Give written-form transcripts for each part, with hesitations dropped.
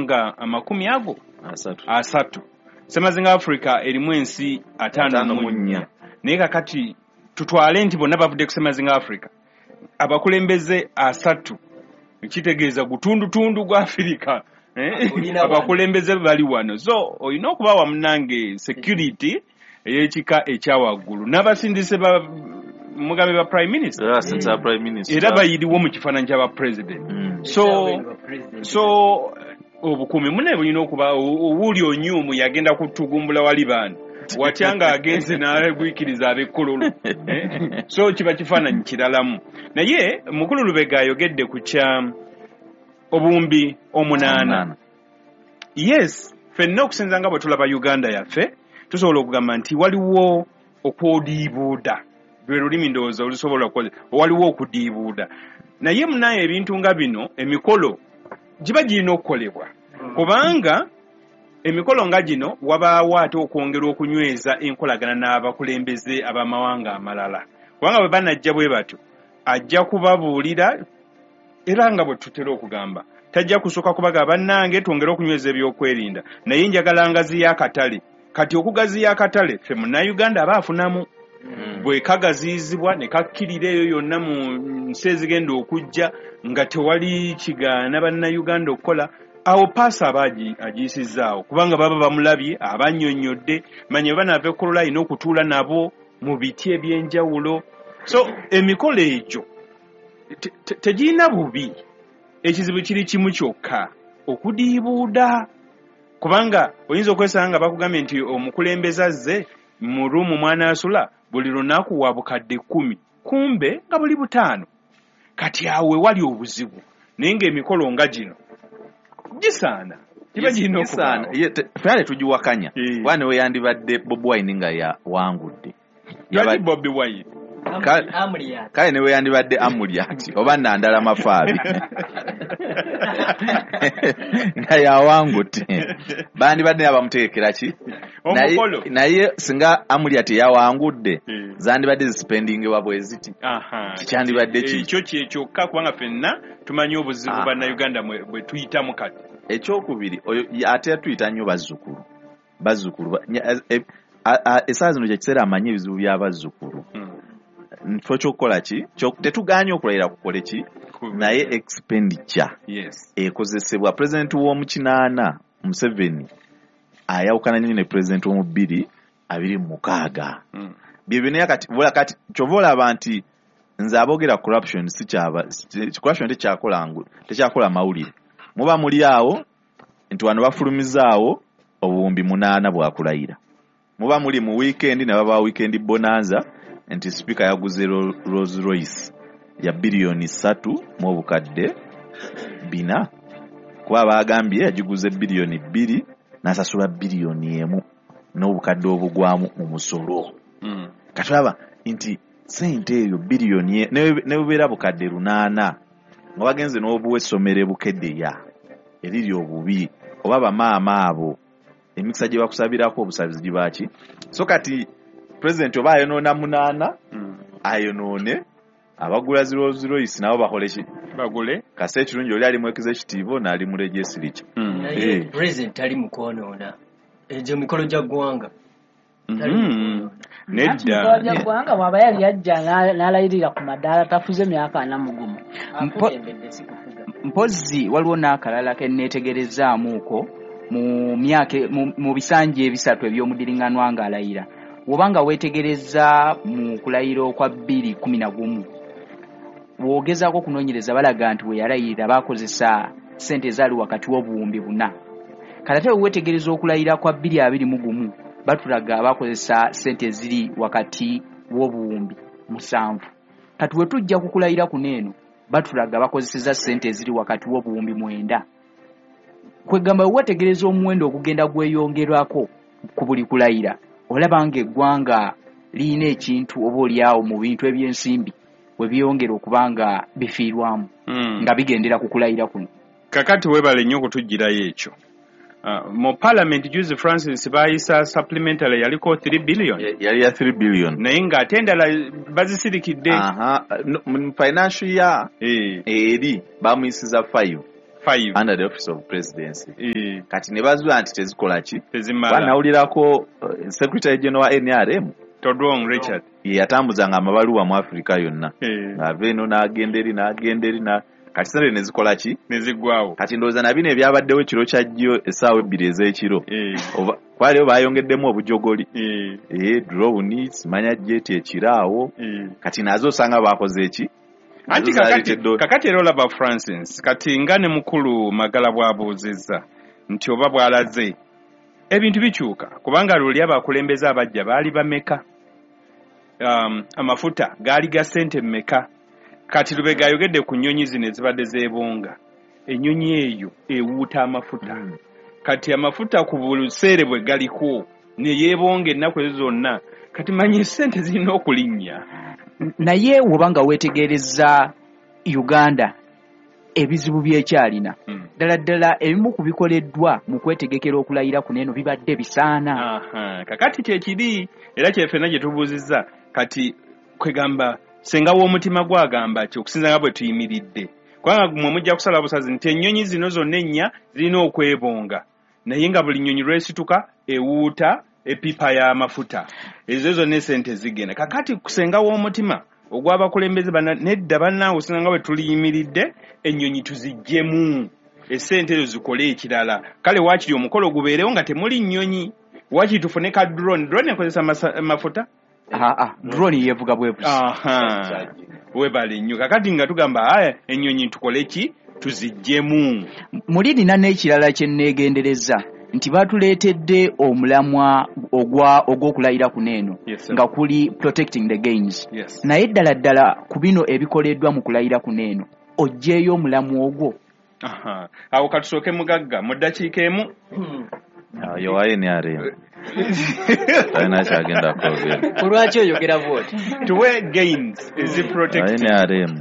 mawanga amakumi ago asatu. Semazinga Africa erimu ensi 54. Naye kakati tutwale nti bonna bavudde ku Semazinga Africa, abakulembeze 3 kitegeeza gutundutundu gwa Africa, abakulembeze bali wano. So olina okubawa munnange security ey'ekika ekyawaggulu n'abasindise ba Mugabe ba prime minister, era bayiriwo mu kifaananyi ky'aba president. So obukuumi munne bulina okuba owuli onyumu yagenda kutugumbula wali baana watya nga agenze n'agwikiriza ab'ekkololo. So kiba kifaananyi kiralamu. Naye mukulu Lubega ayogedde ku kya obuwumbi 8. Yes, ffenna okusinza nga bwe tulaba Uganda yaffe, tusobola okugamba nti waliwo okwodiibuuda, lwe lulimi ndowooza olusobola okukozesa, waliwo okudiibuuda. Naye munaye ebintu nga bino, emikolo giba girina okukolebwa, kubanga emikolo nga gino wabaawo ate okwongera okunyweza enkolagana n'abakulembeze ab'amawanga amalala, kubanga bwe banajja bwe batyo ajja kubabuulira, era nga bwe tutera okugamba tajja kusooka kubaga bannange twongere okunyweza ebyokwerinda, naye njagala ngaziya akatale. Kati okugaziya akatale ffe munnayuganda aba afunamu, bwe kagaziyizibwa ne kakkirira eyo yonna mu nsi ezigenda okujja nga tewali kigaana bannayuganda okukola, awo paasa aba agiyisizzaawo, kubanga baba bamulabye, abannyonnyodde, manya bwe banaava ekkolola alina okutuula nabo mu biti ebyenjawulo. So emikolo egyo tegirina bubi, ekizibu kiri kimu kyokka, okudiibuuda. Kubanga oyinza okwesanga nga bakugambye nti omukulembeze azze mu ruumu mw'anaasula buli lunaku wa bukadde 10, kumbe nga buli 5. Kati awo we wali obuzibu. Naye ng'emikolo nga gino gisaana, giba girina okubaawo. Ffenna tetugiwakanya. Kuba ne we yandibadde Bobi Wine nga yawangudde. Lwaki Bobi Wine? Kale ne we yandibadde Amuriat oba Nandala Mafaabi nga yawangudde, bandibadde abamutegekera ki? Naye singa Amuriat yawangudde, zandibadde zisipendingibwa bwe ziti. Kikyandibadde ki? Ekyo kye kyokka, kubanga ffenna tumanyi obuzibu bannayuganda bwe tuyitamu kati. Ekyokubiri, oyo ate yatuyita nnyo bazzukulu. Bazzukulu essaawa zino kye kiseera amanyi ebizibu by'abazzukulu. Nfo ky'okukola ki? Tetugaanye okulayira kukole ki? Naye expenditure ekozesebwa. Pulezidenti w'omu 8 Museveni ayawukana nnyo ne pulezidenti w'omu 2026. Bye byonna kati, kati ky'ova olaba nti nze aboogera corruption si kyaba, corruption tekyakola mawulire. Muba muli awo nti wano bafulumizaawo obuwumbi 8 bwakulayira. Muba muli mu weekend ne baba weekend bonanza nti speaker yaguze Rolls Royce ya biliyoni 3 mu obukadde 4. Kuba bagambye yagiguze biliyoni 2 n'asasula biliyoni 1 n'obukadde obugwamu mu musolo. Kati olaba nti ssente eyo biliyoni ne bubeera bukadde 8 nga bagenze n'obuwa essomero e Bukeddeya eriri obubi, oba bamaama abo emikisa gye bakusabirako obusabizi giba ki? So kati pulezidenti oba ayonoona 8, ayonoone abagula Rolls Royce nabo bakole ki? Bagule. Kase ekirungi oli ali mu executive n'ali mu legislature. Naye pulezidenti tali mu kwonoona egyo mikolo gya ggwanga. Nedda. Mikolo gya ggwanga bw'aba yali yajja n'alayirira ku madaala tafuze myaka 41. Akulembedde si kufuga. Mpozzi waliwo n'akalala ke neetegerezaamuuko mu myaka mu bisanja ebisatu eby'omudiriŋŋanwa ng'alayira. Bw'oba nga weetegereza mu kulayira okwa 2011, bw'ogezaako okunoonyereza balaga nti we yalayirira baakozesa ssente ezaali wakati w'obuwumbi 4. Kale ate bwe weetegereza okulayira kwa 2021, batulaga baakozesa ssente eziri wakati w'obuwumbi 7. Kati we tujja ku kulayira kuno eno, batulaga bakozesezza ssente eziri wakati w'obuwumbi 9. Kwegamba bwe weetegereza omuwendo ogugenda gweyongerwako ku buli kulayira, olaba ng'eggwanga lirina ekintu oba oliawo mu bintu eby'ensimbi we byongera okuba nga bifiirwamu, nga bigendera ku kulayira kuno. Kakati weebale nnyo okutuggyirayo ekyo. Mu parliament Juzi Francis baayisa supplementary yaliko 3 billion. Yali ya 3 billion. Naye ng'ate endala bazisirikidde. No, mu financial year eri bamuyisiza 5. 5 Under the office of presidency. Kati ne bazuula nti tezikola ki? Tezimala. Banawulirako secretary general wa NRM Todwong Richard ye yatambuzanga amabaluwa mu Africa yonna, ng'ava eno n'agenda eri n'agenda eri, kati sente ne zikola ki? Ne ziggwawo. Kati ndowooza na bino ebyabaddewo ekiro kya jjo essaawa 2 ez'ekiro, oba kwaliyo bayongeddemu obujogoli, drone, simanya jet ekiraawo. Kati nazo osanga bakoze eki? Anti Nazo zaleetedde. Kakati era olaba Francis, kati nga ne mukulu Magala bw'abuuzizza nti oba bw'alaze ebintu bikyuka, kubanga luli abakulembeze abajja baali bameka? Amafuta gaali ga ssente mmeka? Kati Lubega ayogedde ku nnyonyi zino ezibadde zeebonga. Ennyonyi eyo ewuuta amafuta. Kati amafuta ku buseere bwe galiko ne yeebonga ennaku ezo zonna, kati manyi ssente zirina okulinnya. Naye woba nga weetegereza Uganda ebizibu byekyalina, ddala ddala ebimu ku bikoleddwa mu kwetegekera okulayira kuno eno bibadde bisaana. Aha, kakati kyekiri era kyefena gye tubuuzizza kati, kwegamba senga w'omutima gwagamba ki okusinza nga bwe tuyimiridde, kubanga mwe mujja kusala busazi nti ennyonyi zino zonna ennya zirina okwebonga, naye nga buli nnyonyi lwesituka ewuuta epipa y'amafuta, ezo zonna esente zigenda. Kakati kusenga w'omutima ogw'abakulembeze nedda bannange, okusinza nga bwe tuliyimiridde, ennyonyi tuziggyemu, esente ezo zikole ekirala. Kale waakiri omukolo gubeerewo nga temuli nnyonyi, waakiri tufune ka drone. Drone ekozesa mafuta? Aa, drone yeevuga bwevuzi. Aha, webale nnyo. Kakati nga tugamba aya ennyonyi tukole ki? Tuziggyemu. Muli nina n'ekirala kye nneegendereza nti batuleetedde omulamwa ogw'okulayira kuno eno nga kuli protecting the gains. Naye ddala ddala ku bino ebikoleddwa mu kulayira kuno eno oggyeyo omulamwa ogwo? Aha. Awo katusooke mugagga mu ddakiika emu. Oyo wa NRM talina kyagenda kwogera. Kulwaki oyogera bwoti? Tuwe gains ezi Wa protected. NRM.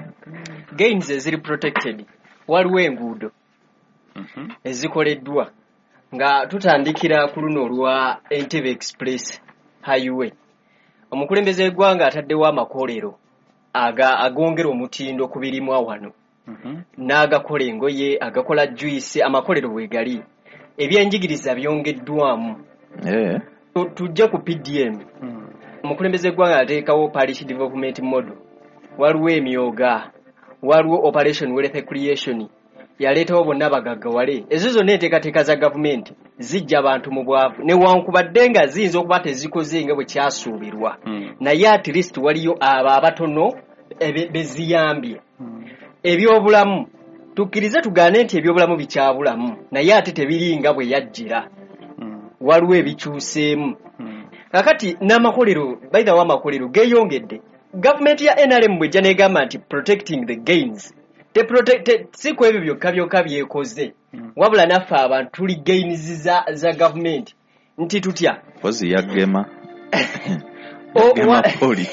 Gains eziri protected, waliwo enguudo ezikoleddwa nga tutandikira ku luno olwa Entebbe Express Highway. Omukulembeze w'eggwanga ataddewo amakolero agongera omutindo ku birimwa wano, n'agakola engoye, agakola juice, amakolero bwe gali. Ebyenjigiriza byongeddwamu. Tujje ku PDM. Omukulembeze w'eggwanga ateekawo parish development model, waliwo emyoga, waliwo Operation Wealth Creation yaleetawo bonna bagaggawale. Ezo zonna enteekateeka za gavumenti zijja abantu mu bwavu, newankubadde nga ziyinza okuba tezikoze nga bwe kyasuubirwa, naye at least waliyo abo abatono beziyambye. Ebyobulamu, tukkirize tugaane nti ebyobulamu bikyabulamu, naye ate tebiringa bwe yajjira, waliwo ebikyuseemu. Kakati n'amakolero, by the way, amakolero geeyongedde. Gavumenti ya NRM bwejja negamba nti protecting the gains, si ku ebyo byokka byokka byekoze, wabula naffe abantu tuli gains za gavumenti nti tutya? Mpozi yagema. Gema polio.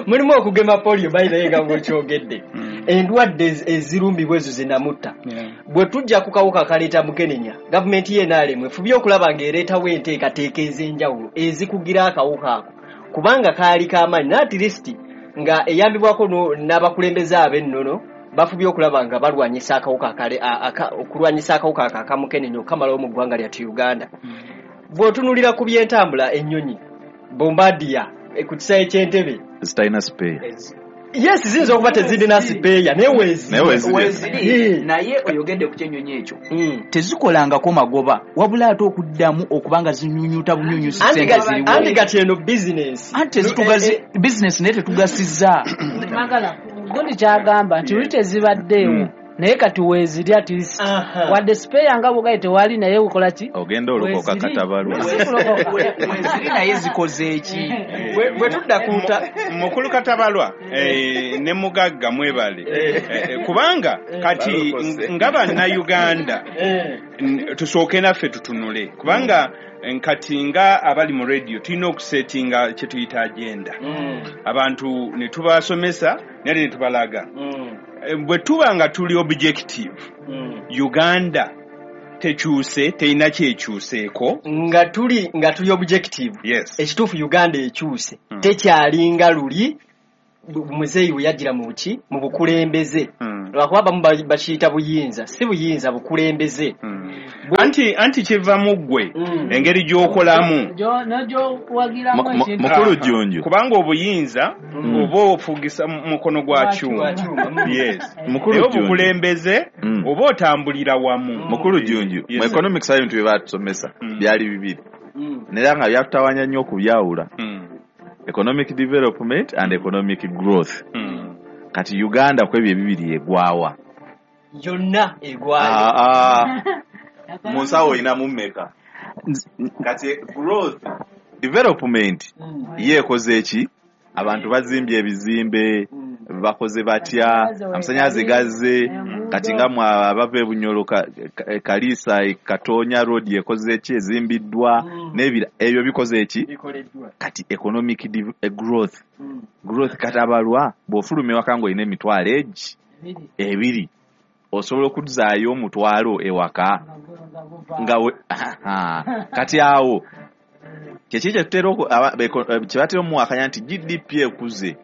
Mulimu okugema polio, by the way, nga bwekyogedde, endwadde ezirumbibwa ezo zinamutta. Bwe tujja ku kawuka akaleeta mukenenya, gavumenti ye NRM efubye okulaba ng'ereetawo enteekateeka ez'enjawulo ezikugira akawuka ako, kubanga kaali k'amaanyi, naye at least nga eyambibwako n'abakulembeze ab'ennono bafubye okulaba nga balwanyisa akawuka okulwanyisa akawuka ako akamukenenya okukamalawo mu ggwanga lyattu Uganda. Bw'otunulira ku byentambula, ennyonyi Bombardier ku kisaawe ky'Entebe Zitalina spare. Yes, ziyinza okuba tezirina spare, naye weeziri. Naye weeziri. Weeziri, naye oyogedde ku kyennyonyi ekyo, tezikolangako magoba, wabula ate okuddamu okuba nga zinyunyuta bunyunyusi Anti sente ziriwo. Anti kati eno bizinesi. Anti tezitugazi bizinesi, naye tetugasizza. Magala gundi kyagamba nti luli tezibaddeewo, naye kati weeziri at least. Wadde spare nga bwogaye tewali, naye okola ki? Ogenda olokoka. Weeziri. Katabalwa. Si kulokoka. Weeziri, naye zikoze eki? Bwe tudda ku Mukulu Katabalwa ne mugagga mwebale. Kubanga kati Balokose. nga bannayuganda tusooke naffe tutunule, kubanga kati nga abali mu radio tulina okusetinga kye tuyita agenda, abantu ne tubasomesa naye ne tubalaga. Bwe tuba nga tuli objective, Uganda tekyuse, terina kyekyuseeko. Nga tuli objective, Yes. ekituufu Uganda ekyuse, tekyalinga luli. Muzeeyi we yajjira mu ki, mu bukulembeze. Lwakuba abamu bakiyita buyinza, si buyinza, bukulembeze. Anti kiva mu ggwe, engeri gy'okolamu n'ogyowagiramu ekintu. Mukulu Jjunju. Kubanga obuyinza oba ofugisa mukono gwa kyuma. Yes. Mukulu Naye Jjunju. obukulembeze oba otambulira wamu. Mukulu Jjunju, Yes. mu economics ebintu bye baatusomesa byali bibiri. Naye nga byatutawaanya nnyo okubyawula. Economic development and economic growth. Kati Uganda ku ebyo ebibiri egwawa. Yonna egwayo. Mu nsawo olinamu mmeka? Kati growth, development ye ekoze ki? Abantu bazimbye ebizimbe, bakoze batya, amasannyalaze gazze, kati nga mwe abava e Bunyoro, Kaliisa, Katonya road ekoze ki, ezimbiddwa, n'ebira, ebyo bikoze ki? Bikoleddwa. Kati economic growth. Growth katabalwa, bw'ofuluma ewaka ng'olina emitwalo egi ebiri, osobola okuzzaayo omutwalo ewaka. Nga we, kati awo kyeki kyetutera kye batera omuwakanya nti GDP ekuze.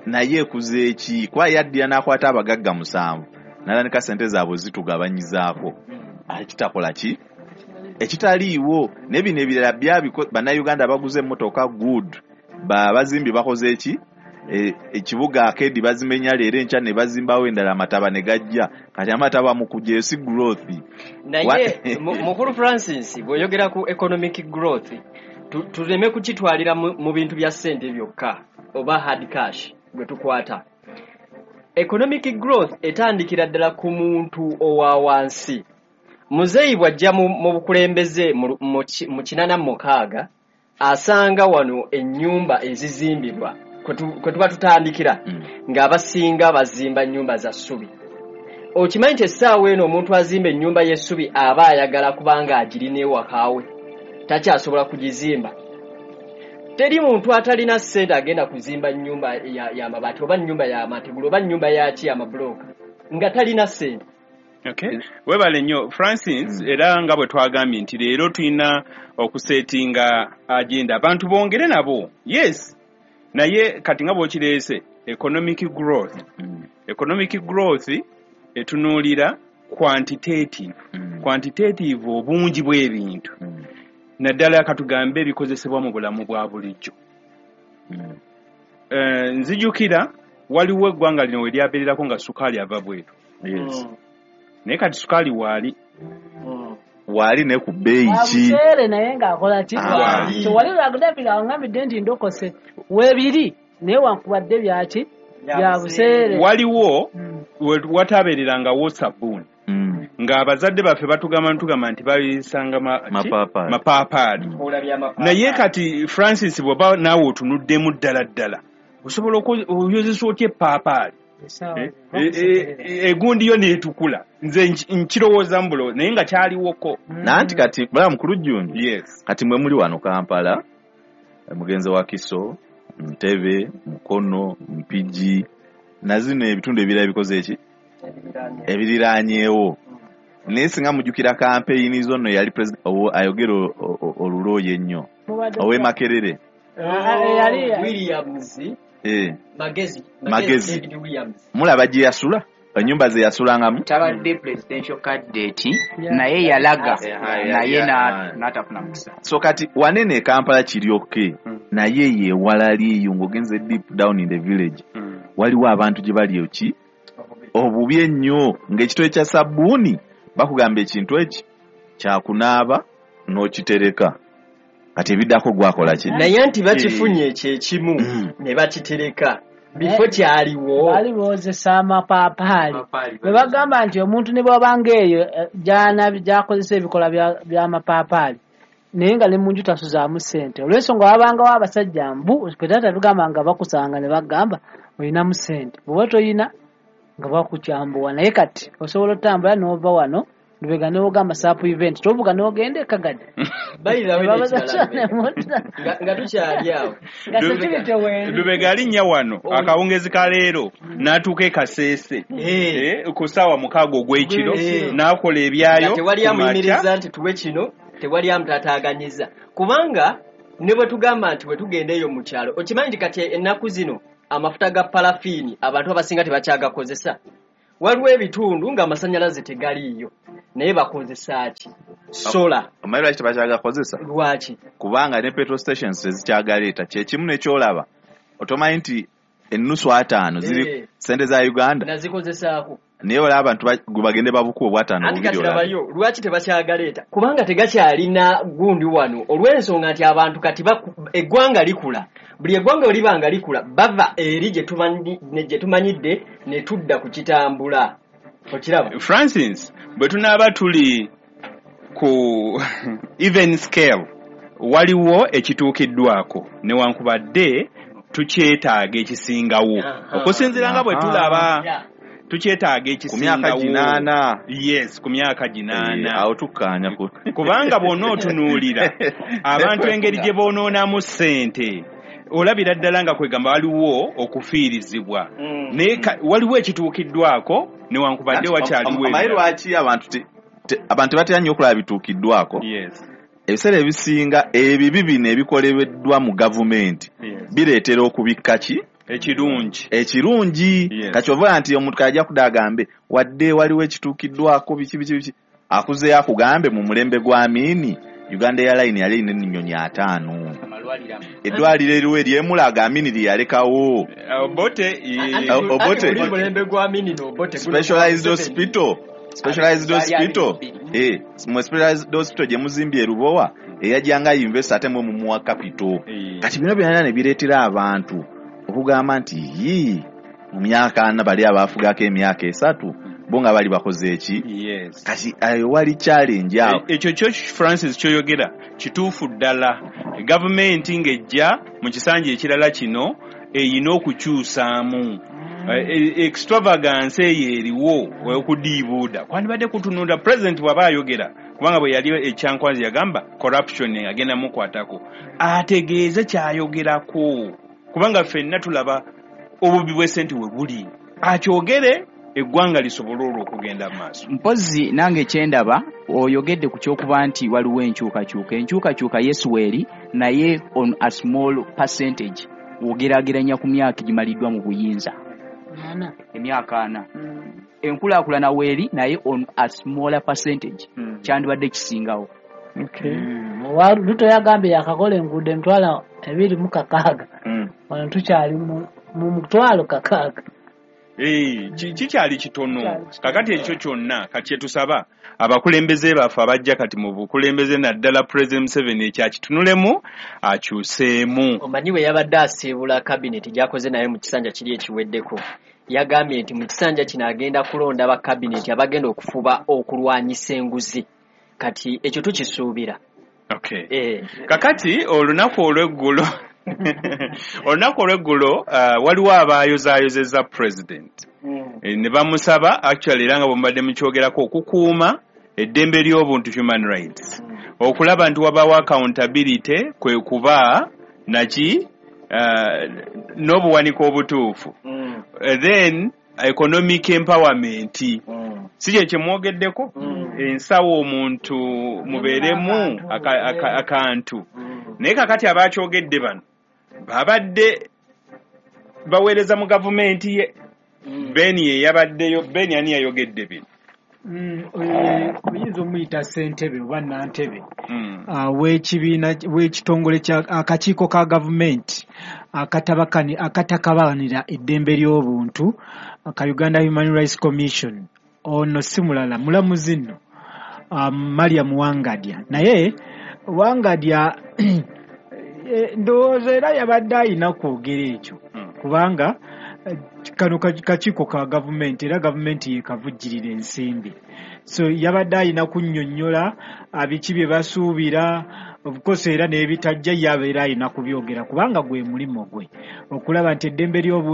Naye ekuze ki? Kuba yaddira n'akwata abagagga 7, n'atandika ssente zaabwe zitugabanyizaako. Ate kitakola ki? Ekitaliiwo. Ne bino ebirala bannayuganda baguze emmotoka good, bazimbi bakoze ki? Ekibuga arcade bazimenya leero enkya ne bazimbawo endala, amataba ne gajja. Kati amataba mu kujja si growth. Naye Mukulu Francis, bw'oyogera ku economic growth, tuleme kukitwalira mu bintu bya ssente byokka oba hard cash gwe tukwata. Economic growth etandikira ddala ku muntu owa wansi. Muzeeyi bw'ajja mu bukulembeze mu 86, asanga wano ennyumba ezizimbibwa kwe tuba tutandikira, ng'abasinga bazimba nnyumba za ssubi. Okimanyi nti essaawa eno omuntu azimba ennyumba y'essubi aba ayagala kubanga agirina ewaka we, takyasobola kugizimba. Teri muntu atalina ssente agenda kuzimba nnyumba ya mabaati oba nnyumba ya mategula oba nnyumba ya ki, amabulooka, nga talina ssente. Okay. Webale nnyo Francis, era nga bwe twagambye nti leero tulina okusetinga agenda abantu bongere nabo. Yes. Naye kati nga bw'okireese economic growth. Economic growth etunuulira quantitative. Quantitative obungi bw'ebintu. Naddala katugambe ebikozesebwa mu bulamu bwa bulijjo. Nzijukira waliwo eggwanga lino we lyabeererako nga sukaali ava bweru. Yes. Naye kati sukaali waali. Waali ne ku bbeeyi ki? Wabuseere naye ng'akola ki? Tewali lwagudabira angambidde nti ndokose. Weebiri naye wankubadde byaki? Bya buseere. Waliwo watabeererangawo sabbuuni. Ng'abazadde baffe batugamba ntugamba nti babisanga Mapaapaali. mapaapaali. Naye kati Francis bw'oba naawe otunuddemu ddala ddala, osobola oyozesa otya epaapaali? Egundi yo neetukula. Nze nkirowooza mbulo, naye nga kyaliwoko. Nanti kati, bala mukulu Jjunju. Yes. Kati mwe muli wano Kampala, mugenzi wa Kiso, Ntebe, Mukono, Mpigi, na zino ebitundu ebirala bikoze eki? Ebiriraanyeewo. Naye singa mujjukira kampeyini zo nno yali ayogera olulooyi ennyo. Ow'e Makerere. Williams. Magezi. Magezi. David Williams. Mulaba gye yasula? Ennyumba ze yasulangamu? Tabadde presidential candidate, naye yalaga, naye n'atafuna mukisa. So kati wanene e Kampala kiri okay, naye ye ewalali eyo ng'ogenze deep down in the village. Waliwo abantu gye bali eki? Obubi ennyo ng'ekitole kya sabbuuni bakugamba ekintu eki kyakunaaba n'okitereka. Kati ebiddako gwakola ki? Naye nti bakifunye ekyo ekimu ne bakitereka. Bifo kyaliwo. Baali boozesa amapaapaali. Bwe bagamba nti omuntu ne bw'aba ng'eyo, gy'akozesa ebikola by'amapaapaali, naye nga ne mu nju tasuzaamu ssente. Olw'ensonga wabangawo abasajja mbu, ffe taata tugamba nga bakusanga ne bagamba olinamu ssente. Bw'oba toyina nga bakukyambuwa. Naye kati osobola otambula n'ova wano Lubega n'ogamba saapu event, tovuga n'ogenda e Kagadi. Bayira we Babaza n'ekirala kyane Lubega. munda. Nga tukyali awo. Nga security weeri. Lubega alinnya wano, akawungezi ka leero, n'atuuka e Kasese. Ku ssaawa 6 ogw'ekiro, n'akola ebyayo Nga tewali ku makya. amuyimiriza nti tuwe kino, tewali amutataaganyizza. Kubanga ne bwe tugamba nti bwe tugenda eyo mu kyalo, okimanyi nti kati ennaku zino Amafuta ga parafiini abantu abasinga tebakyagakozesa. Waliwo ebitundu ng'amasannyalaze tegaliiyo, naye bakozesa ki? Sola. Omanyi lwaki tebakyagakozesa? Lwaki? Kubanga ne petrol stations tezikyagaleeta. Kyekimu nekyolaba, otomanyi nti ennusu 50 ziri sente za Uganda, nazikozesaako, naye olaba abantu gwe bagende babukuba obwataano anti bubiri kati olaba. Labayo lwaki tebakyagaleeta, kubanga tegakyalina gundi wano, olw'ensonga nti abantu kati eggwanga likula. Buli eggwanga bwe liba nga likula, bava eri gye tumanyidde ne tudda ku kitambula. Okiraba? Francis, bwe tunaaba tuli ku even scale, waliwo ekituukiddwako newankubadde tukyetaaga ekisingawo. Okusinziira nga bwe tulaba, tukyetaaga Ku myaka ekisingawo. 8. Yes, ku myaka 8. Awo tukkaanya ku Kubanga bw'onna otunuulira abantu engeri gye boonoonamu ssente, olabira ddala nga kwegamba waliwo okufiirizibwa. Naye waliwo ekituukiddwako newankubadde wakyaliwo Omanyi ebirala. lwaki abantu tebatera nnyo okulaba bituukiddwako? Yes. Ebiseera ebisinga ebibi bino ebikoleddwa mu gavumenti bireetera okubikka ki? Ekirungi. Ekirungi. Yes. Kati ovola nti omuntu kajja kudda agambe wadde waliwo ekituukiddwako biki biki biki, akuzeeyo akugambe mu mulembe gwa Amini Uganda Airline yali erina ennyonyi 50. Eddwaliro eriwo eryemulaga Amini lye yalekawo. Obote, Obote. Anti mulembe gwa Amini n'Obote guno Specialized gwa hospital. Specialized Bali hospital. abiri. Mwe specialized hospital gye muzimbye e Lubowa, eyajjanga invest ate mwe mumuwa capital. Kati bino byonna ne bireetera abantu okugamba nti yii, mu myaka 4 bali abaafugako emyaka 3 bo nga bali bakoze eki? Yes. Kati ayo wali challenge awo. Ekyo kyo Francis kyoyogera kituufu ddala. Gavumenti ng'ejja mu kisanja ekirala kino erina okukyusaamu. Extravagance eyo eriwo okudiibuuda kwandibadde kutunula president bw'aba ayogera, kubanga bwe yali ekyankwanzi yagamba corruption agenda mukwatako, ategeeze ky'ayogerako, kubanga ffenna tulaba obubbi bw'essente we buli, akyogere eggwanga lisobole olwo okugenda mu maaso. Mpozzi nange kyendaba oyogedde ku ky'okuba nti waliwo enkyukakyuka. Enkyukakyuka yesu weeri, naye on a small percentage w'ogeraageranya ku myaka egimaliddwa mu buyinza. 4. Emyaka 4. Enkulaakulana weeri, naye on a smaller percentage. Kyandibadde kisingawo. Ruto yagambye yakakola enguudo 26,000. Wano tukyali mu 6,000. Kikyali kitono. Kakati ekyo kyonna kati kyetusaba abakulembeze baffe abajja kati mu bukulembeze, naddala President Museveni ekyakitunulemu akyuseemu. Omanyi bwe yabadde asiibula kabineti gy'akoze naye mu kisanja kiri ekiweddeko, yagambye nti mu kisanja kino agenda kulonda ba kabineti abagenda okufuba okulwanyisa enguzi. Kati ekyo tukisuubira. Okay. Kakati olunaku olw'eggulo waliwo abaayozaayozezza president. Ne bamusaba actually era nga bwe mubadde mukyogerako okukuuma eddembe ly'obuntu, human rights, okulaba nti wabaawo accountability, kwe kuba naki n'obuwanika obutuufu, then economic empowerment. Si kye kyemwogeddeko, ensawo omuntu mubeeremu akantu. Naye kakati abakyogedde bano babadde baweereza mu gavumenti ye. Ben ye yabaddeyo. Ben ani yayogedde bino? Oyinza omuyita ssentebe oba nnantebe w'ekibiina w'ekitongole kya akakiiko ka gavumenti akatakabanira eddembe ly'obuntu aka Uganda Human Rights Commission. Ono si mulala, mulamuzi nno Mariam Wangadya. Naye Wangadya ndowooza era yabadde ayina kwogera ekyo, kubanga kano kakiiko ka gavumenti era gavumenti yekavujjirira ensimbi, so yabadde ayina kunnyonnyola biki bye basuubira, of course era n'ebitajja yabeera ayina kubyogera, kubanga gwe mulimu gwe okulaba nti eddembe ly'obuntu